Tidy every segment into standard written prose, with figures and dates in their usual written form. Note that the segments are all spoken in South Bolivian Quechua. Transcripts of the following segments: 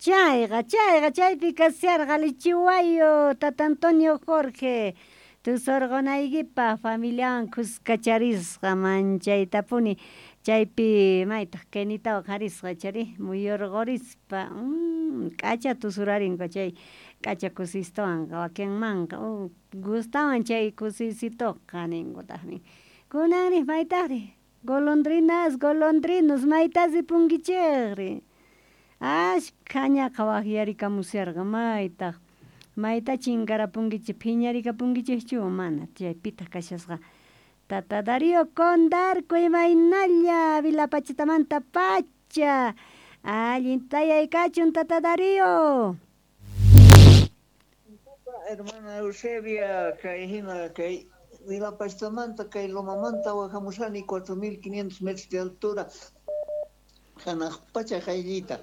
Chayqa, chayqa, chaypi kasharqa Lichiwayo, Tata Antonio Jorge. Tusurqunaykipaq familiawan khuskacharisqa manchaytapuni chaypi maytaq Kenitawan qarisqa chari muyurqurispa k'acha tusurarinku chay k'acha kusistuwanqa wakinmanqa gustawan chay kusisituqa ninkutaqmi. Kunanri maytaqri golondrinas golondrinos mayta ripunkichikri ashkha ñaqa waqyarikamusharqa maytaq mayta chinkarapunkichik phiñarikapunkichikchu mana chaypitaq kashasqa Tata Darío Condarco imaynalla Vilapachitamanta pacha allin tayay kachun Tata Darío. Hermana Eusebia kay hina kay Vilapachtamanta kay Lomamanta wajamushani 4500 metros de altura hanaq pacha qayllita.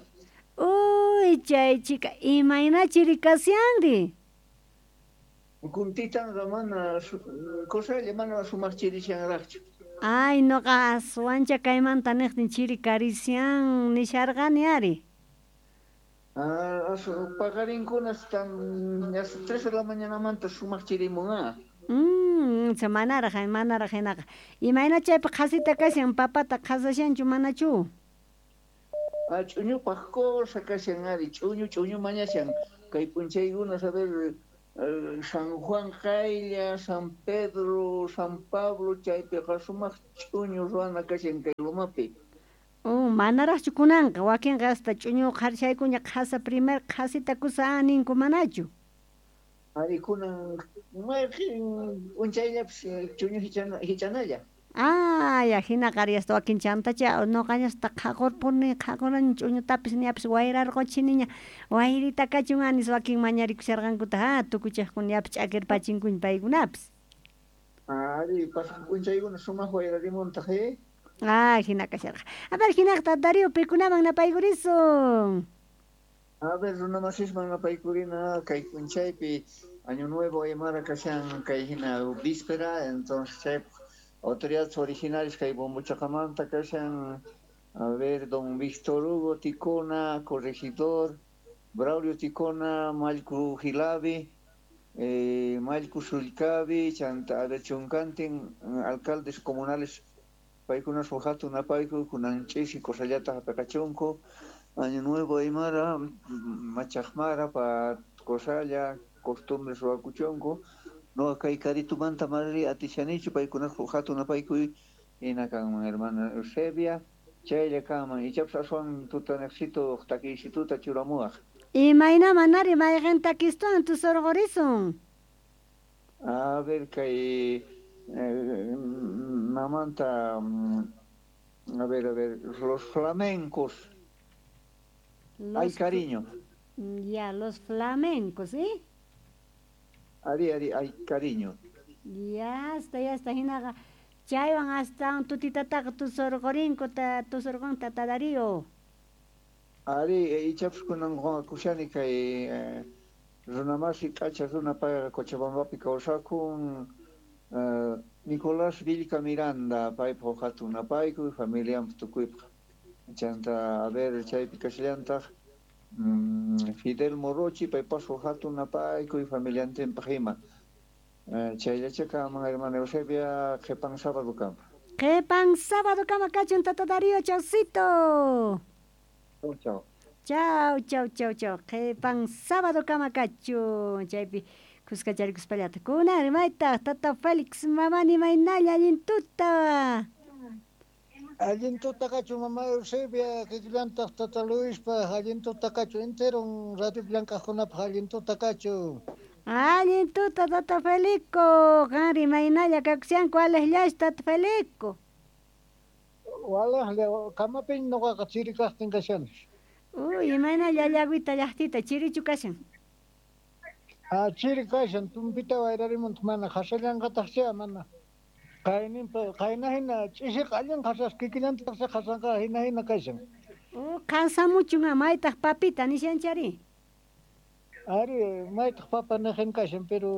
Uy chay chica imayna chiri kashanri. Kuntitanqa mana cosalla mana sumaq chirishanraqchu. Ay noqa aswancha kaymanta niqtin chiri karishan nisharqani ari. Ah, paqarinkuna están las 3 de la mañanamanta sumaq chirimun ah. Manaraq manaraq hinaqa. Imayna chaypi qhasita kashan papata qhasashanchu manachu? Ah, ch'uñupaq cosa kashan ari ch'uñu ch'uñu mañashan kay p'unchaykuna a ver San Juan qaylla, San Pedro, San Pablo chaypiqa sumaq ch'uñu ruwana kashan kay lumapi. Oh, manaraqchu kunanqa wakinqa hasta ch'uñu qharishaykuña qhasa primer qhasita kusa ninku manachu? Ari kunan mayqin p'unchayllapis ch'uñu hichanalla. Ah, ya hinaqa ari hasta wakin chantacha nuqañasta qhaqurpuni qhaqurani ch'uñutapis ñapis wayrarquchiniña wayrita kachun anis wakin mañarikusharqankuta ha tukuchaqkuna ñapis ch'akirpachinkuña paykunapis. Ari pasaq p'unchaykuna sumaq wayrarimuntaq eh. Ah, hina kasharqa. A ver, hinaqta Darío pikunaman napaykurisun. A ver, runamasisman napaykurina kay p'unchaypi Año Nuevo Aymara kashan kay hina víspera, entonces chay autoridades originales kay Bombochaqamanta kashan, a ver, don Víctor Hugo Ticona, corregidor, Braulio Ticona, Mallku Gilavi, Mallku Sulcavi, chanta, a ver, chunkantin, alcaldes comunales, paykuna hatun napayku, kunan ch'isi cosallata hap'iqachunku, Año Nuevo Aymara, Machaqmara, pa cosalla, costumbres ruwakuchunku, no kay karitumanta manari atishanichu paykuna hatun napaykuy hina kanman hermana Eusebia, chaylla kanman ichapas aswan tutaniqsitu takiysituta churamuwaq. Imayna manari mayqin takistuwan tusurqurisun. A ver kay mamanta a ver, los flamencos. Ay cariño. Ya, los flamencos, ¿sí? Ari, ari, ay cariño. Ya está, hinaqa chaywan hasta tutitataqa tusurqurinku tusurqun tata Darío. Ari, ichapas kunan kushani kay runamasi k'acha runa payqa Cochabambapi kawsakun Nicolás Vilca Miranda paypaq hatun napaykuy familianpaq tukuypaq. Chanta, a ver, chaypi kashallantaq Fidel Morochi paypas hatun napaykuy familiantinpaq ima. Chayllacha kanman hermana Eusebia qhipan sábado kama. Qhipan sábado kama kachun tata Darío, chaucito. Chau, chau. Chau, chau, chau, chau. Qhipan sábado kama kachun chaypi kuskacharikuspallataj kunan maytaq tata Félix mamani maynalla allin tuta. Allin tuta kachu mama Eusebia kikillantaq tata Luispaq allin tuta kachu enteron radio llank'aqkunapaq allin tuta kachu. Allin tuta tata Felico qanri maynalla kakushanku walejllachu tata Felico. Walejlla kamapiña nuqaqa chiri kaqtin kashani. Uy, imaynalla llagüita llaqtita chirichu kashan. Ah, chiri kashan tumpita wayrarimuntaq mana qhasallanqataqcha mana. Qayninpa qayna hina ch'isiqa allin qhasas kikillantaqcha qhasanqa hina hina kashan. Oh, qhasamuchun maytaq papita nishanchari. Ari, maytaq papa niqin kashan, pero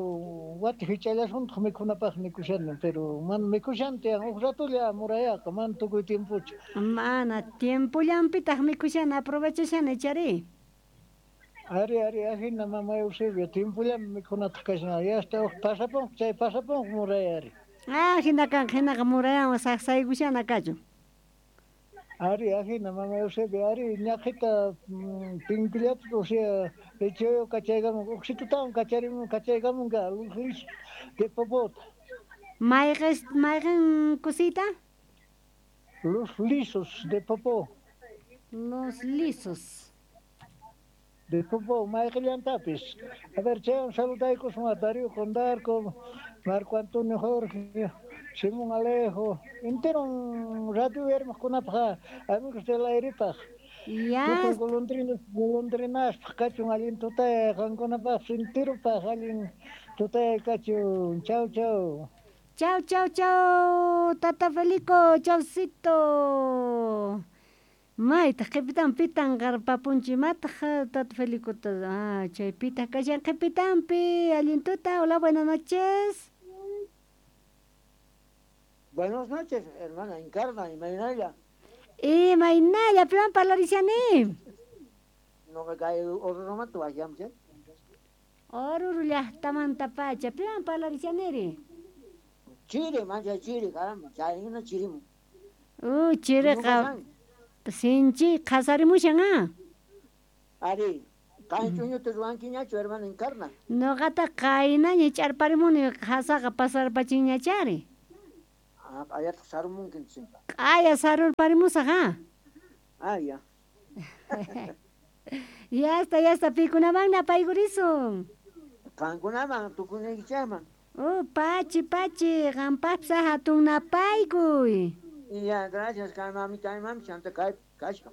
wati hich'allasuntaq mikhunapaq nikushani, pero mana mikhushanti huk ratulla murayaqa, mana tukuy tiempochu. Mana tiempollanpitaq mikhushani aprovechashani chari. Ari, ari, ajina mama Eusebio, tiempollami mikhunataq kashan. Yasta uj pasaponqa, chay pasaponqa muray ari. Ah, hina kanqa, hinaqa murayawan saqsaykushana kachun. Ari, ajina mama Eusebio, ari, ñaqhita pinkullapis, o sea, lechoyo kachaykamun, uqsitutawan kacharimun, kachaykamunqa, luz de popota. Mayqen kusita? Los lisos de popó. Los lisos. De popó, mayqillantapis. A ver, chaywan saludaykuswan a Darío Condarco, Marco Antonio Jorge, Simón Alejo, entero radio hermoskunapaq, amigos del airepaq. Ya. Tukuy golondrinaspaq kachun allin tutay, qankunapaqpis enteropaq allin tutay kachun. Chau, chau. Chau, chau, chau, Tata Felico, chaucito. Maytaq qhipitan pitan qarpapunchi mataq Tata Felicota. Ah, chay pitaq kashan qhipitanpi. Allin tuta, hola, buenas noches. Buenas noches, hermana Encarna, imaynalla. Imaynalla, piwan parlarishani. No kay Orurumanta wajyamchay. Oruro llaqtamantapacha, piwan parlarishaniri. Chiri, mancha chiri, caramba, chayna chirimu. Chiriqa sinchi qhasarimushan ah. Ari, kay ch'uñuta ruwankiñachu, hermana Encarna. Noqata qaynaña ch'arparimuni qhasaqa pasarpachinñachari. Ah, q'ayataq sarumunki entonces. Q'aya sarurparimusaq ah. Ah, ya. Ya está, pikunamanna apaykurisun. Qankunaman, tukunaykichikman. Pachi, pachi, qampaqpis hatun napaykuy. Ya, gracias, kay mamita, mami, chanta kay kashka.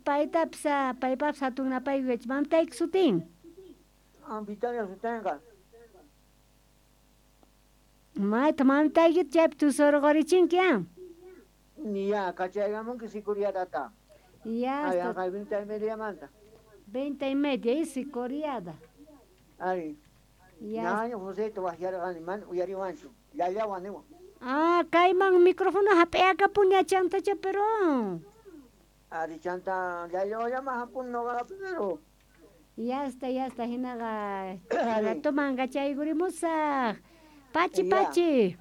Paytapis, paypapis hatun napaykuy, mamitayki sutin. Ah, Vitalia sutinqa. Mayta mamitaykita chaypi tusurqurichinki ah. Ya, kachaykamunki sikuriadata. Ya está. Ay, 20:30 manta. 20:30, y sikuriada. Ari. Ya. Ñaño José te wajyarqani, mana uyariwanchu. Llallawan niwan. Ah, kayman micrófono hap'iyakapuña chantacha pero. Ari chanta llallawanllama hapun noqa pero. Ya está, hinaqa ratoman kachaykurimusaq. Pachi, pachi.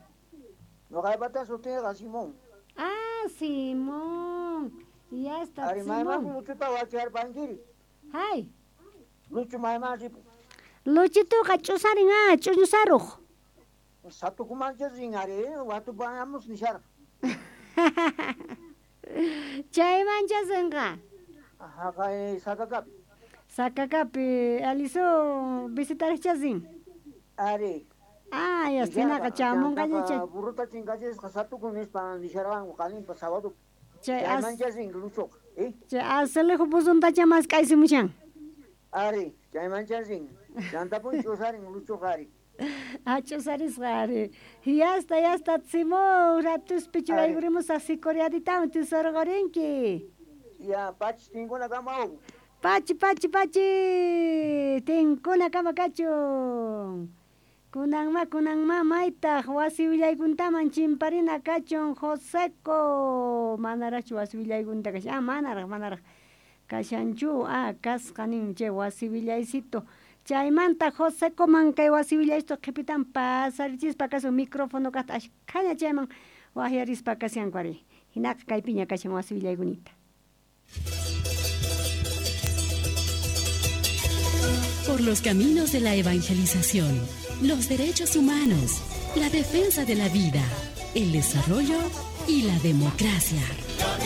Noqaypata sutinqa Simón. Ah, Simón. Ya está, Ari mayman Simón. Luchuta wacharpankiri. Hay. Luchu mayman ripu. Luchituqa ch'usarin ah, ch'uñusaruq. Satukumancha rin ari, watupañamus nisharqa. Chaymancha rinqa. Haqay Sakakapi. Sakakapi, aliso visitarcha rin. Ari. Ah, ya está, hinaqa chamunqañacha. Burruta chinkachisqa satukun nispa nisharqanku qalinpa sábado. Chay Chaymancha rin Luchoqa, eh? Chay azulejo buzuntacha mask'aysimushan. Ari, chaymancha rin. Chantapun ch'usarin Luchoqa ari. Ah, ch'usarisqa ari. Ya está, Simón, ratuspi churaykurimusaq sikuriaditawan tusurqurinki. Ya, pachi tinkunakama uku. Pachi, pachi, pachi, tinkunakama kachun. Kunanma, kunanma, maytaq wasi willaykuntaman chimparina kachun Joseco. Manaraqchu wasi willaykunta kashan. Ah, manaraq, manaraq kashanchu. Ah, kasqa nin chay wasi willaycito. Chaymanta Josecoman kay wasi willaycito qhipitan pasarichispa kasun micrófono kaqta ashkhaña chayman waqyarispa kashanku ari. Hinaqa kaypiña kashan wasi willaykunita. Por los caminos de la evangelización, los derechos humanos, la defensa de la vida, el desarrollo y la democracia.